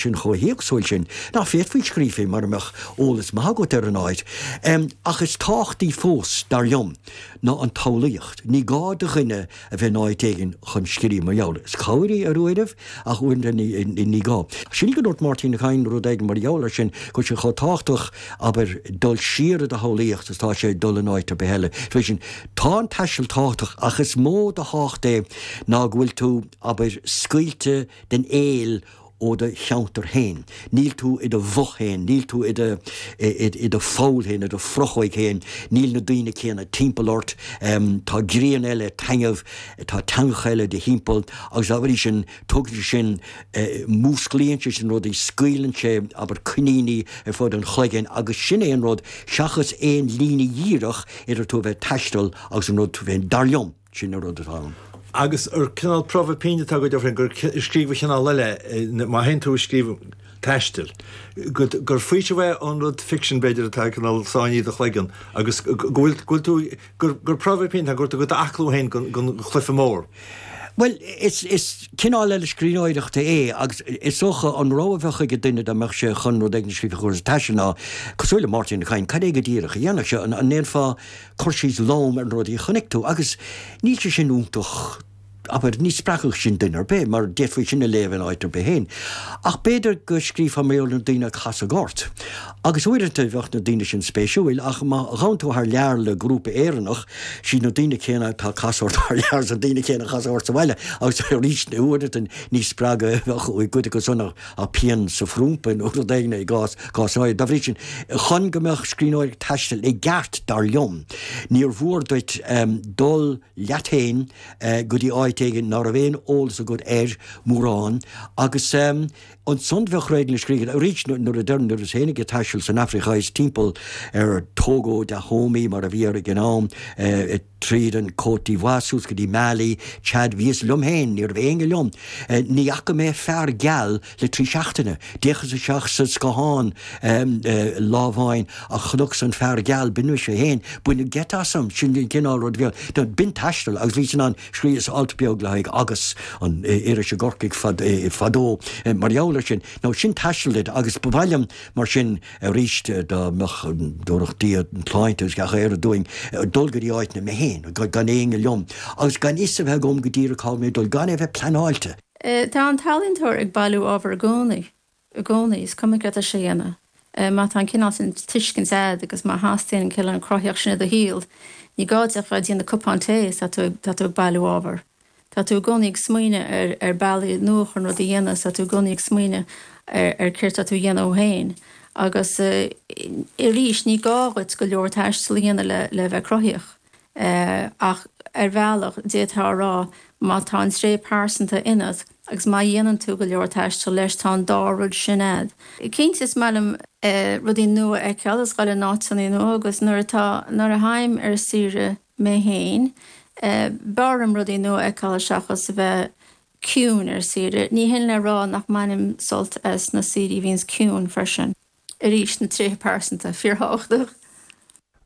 Sin chomh héagsúil sin nach bhféadfaí scríobh faoi mura mbeadh eolas maith agat ar an áit. Ach is tábhachtaí fós, dar liom, ná an tsamhlaíocht. Ní gá do dhuine a bheith in áit éigin chun scríobh mar gheall. Is cabhair í ar uairibh, ach uaireanta ní gá. Sílim go ndúirt Máirtín Ó Cadhain rud éigin mar gheall air sin, go bhfuil sé chomh tábhachtach, abair, dul siar i do shamhlaíocht is atá sé dul in áit ar bith eile. Is sin, tá an taisteal tábhachtach, ach is mó de thábhacht é ná go bhfuil tú, abair, scaoilte den éill ó do cheantar féin. Níl tú i do bhoth féin, níl tú i do, i do pholl féin, i do phrochóig féin, níl na daoine céanna timpeall ort, tá grian eile, taitneamh, tá teangacha eile i do thimpeall agus dá bhrí sin tugann sé sin, músclaíonn sé sin rudaí, scaoileann sé, abair, coiníní ar fud an chloiginn agus sin é an rud seachas aon líne dhíreach idir tú a bheith ag taisteal agus an rud tú féin, dar liom. Sin an rud atá ann. Agus ar cineál promhadh pinn atá agat féin gur scríobh chineál eile, má théann tú ag scríobh taistil, gur faoiseamh é ón rud ficsin b'fhéidir atá cineál sáinnithe i do chloigeann agus go bhfuil, go bhfuil tú, gur, gur promhadh pinn atá go bhfuil tú ag aclú féin don chluiche mór. Bhuel, is, is cineál eile scríbhneoireachta é agus is dócha an rogha a bheadh ag duine dá mbeadh sé chun rud éigin a scríobh faoi chúrsaí taistil ná, cosúil le Máirtín Ó Cadhain, cad é go díreach a dhéanfadh sé? An ndéanfá cur síos lom ar na rudaí a chonaic tú agus níl sé sin iontach, abair, ní spreagfadh sin duine ar bith mar d'fhéadfaí sin a léamh in áit ar bith féin. Ach b'fhéidir go scríobhfá mar gheall ar na daoine a casadh ort. Agus uaireanta bheadh na daoine sin spéisiúil ach má ghabhann tú thar lear le grúpa Éireannach, siad na daoine céanna atá ag casadh ort thar lear is na daoine céanna a chasfadh ort sa bhaile agus arís uaireanta ní spreagadh a bheadh i gcuid acu san ach ach pian sa phrúmpa nó rud éigin i gcás cás áirithe. Dá bhrí sin, chun go mbeadh scríbhneoireacht taistil i gceart, dar liom, níor mhór duit dul leat féin go dtí áit éigin ná raibh aon eolas agat air mórán agus ansan bheadh rud éigin le scríobh. Arís, nuair a deirim, nuair a bhíos féinig ag taisteal san Afraic Theas timpeall ar Togo, Dahomey mar a bhí air ag an am, Tríd an Côte d'Ivoire suas go dtí Mali, Chad, bhíos liom féin, ní raibh éinne liom. Ní fhaca mé fear geal le 3 seachtaine. D'fhéachas isteach sa scáthán lá amháin ach chonacas an fear geal, b'in mise féin. Baineadh geit asam, sin an cineál rud a bhí ann. B'in taisteal agus bhíos in ann, scríobhas alt beag le haghaidh Agus, an iris i gCorcaigh fadó, mar gheall air sin. Now sin taisteal duit agus ba mhaith liom mar sin, Arís, dá mbeadh, dtabharfadh Dia an tsláinte agus gach aoire dúinn, dul go dtí áiteanna mé féin, gan éinne liom, agus gan fhios a bheith agam go díreach cá bhfuil mé ag dul, gan é a bheith pleanáilte. Tá an t-ealaíontóir ag bailiú ábhar i gcónaí, i gcónaí, is cuma céard atá sé a dhéanamh. Má tá an cineál sin tuiscint a'd agus má theastaíonn an cineál cruthaíocht sin i do shaol, ní gá duit ach bheith ag déanamh cupán tae is tá tú, tá tú ag bailiú ábhar. Tá tú i gcónaí ag smaoineamh ar ar bealaí nua chun rudaí a dhéanamh, tá tú i gcónaí ag smaoineamh ar ar céard tá tú a dhéanamh féin. Agus arís, ní gá dhuit go leor taistil a dhéanamh le le bheith cruthaíoch. Ach ar bhealach, d'fhéadfá a rá, má tá an tréith pearsanta ionat agus má dhéanann tú go leor taistil leis, tá an dá rud sin a'd. Cinnte, is maith liom rudaí nua a fheiceáil is dhul in áiteanna nua agus nuair atá, nuair a théim ar saoire, mé féin. B'fhearr liom rudaí nua a fheiceáil seachas a bheith ciúin ar saoire. Ní hin le rá nach mbainim sult as na saoirí a bhíonns ciúin freisin. Arís, na tréithe pearsanta, fíorthábhachtach.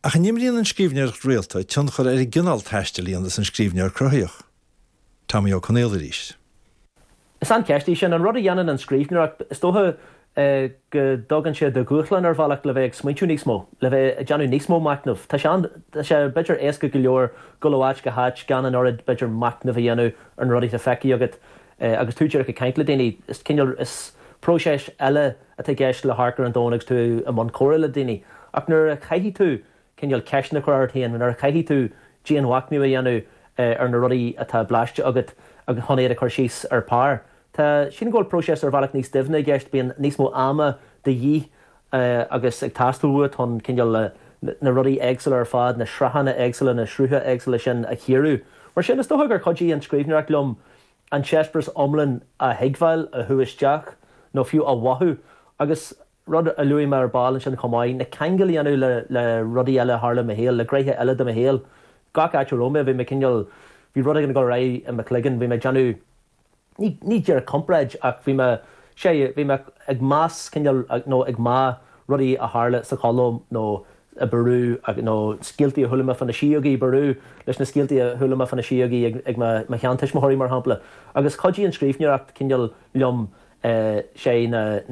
Ach an imríonn an scríbhneoireacht rialta tionchar ar an gcineál taistil a dhéanas an scríbhneoir cruthaíoch? Tommy Ó Conaola arís. Is an-cheist í sin. An rud a dhéanann an scríbhneoireacht, is dócha go dtugann sé do dhúshlán ar bhealach le bheith ag smaointiú níos mó, le bheith ag déanamh níos mó machnaimh. Tá sé an, tá sé b'fhéidir éasca go leor dul ó áit go háit gan an oiread b'fhéidir machnaimh a dhéanamh ar na rudaí atá feicthe agat agus tú díreach ag caint le daoine. Is cineál, is próiseas eile atá i gceist le hamharc ar an domhan agus tú i mbun comhrá le daoine. Ach nuair a chaithfidh tú cineál ceisteanna a chur ort féin, nuair a chaithfidh tú dianmhachnamh a dhéanamh ar na rudaí atá blaiste agat agus chun iad a chur síos ar pár. Tá, sílim go bhfuil próiseas ar bhealach níos doimhne i gceist, bíonn níos mó ama de dhíth agus ag teastáil uait chun cineál na rudaí éagsúla ar fad, na sraitheanna éagsúla, na srutha éagsúla sin a chíoradh. Mar sin, is dócha gur chuidigh an scríbhneoireacht liom an t-eispéireas iomlán a thuigbheáil, a shú isteach nó fiú a mhothú agus Rud a luaigh mé ar ball ansin chomh maith, na ceangail a dhéanamh le le rudaí eile a tharla i mo shaol, le gnéithe eile de mo shaol. Gach áit a raibh mé, bhí mé cineál, bhí rud éigin ag dul ar aghaidh i mo chloigeann, bhí mé ag déanamh, ní, ní díreach comparáid ach bhí mé, sea, bhí mé ag meas cineál nó ag meá rudaí a tharla sa Cholóim nó i bPeru nó scéaltaí a chuala mé fá na síogaí i bPeru leis na scéaltaí a chuala mé fá na síogaí ag mo, mo sheantuismitheoirí mar shampla. Agus chuidigh an scríbhneoireacht cineál liom. Sé na.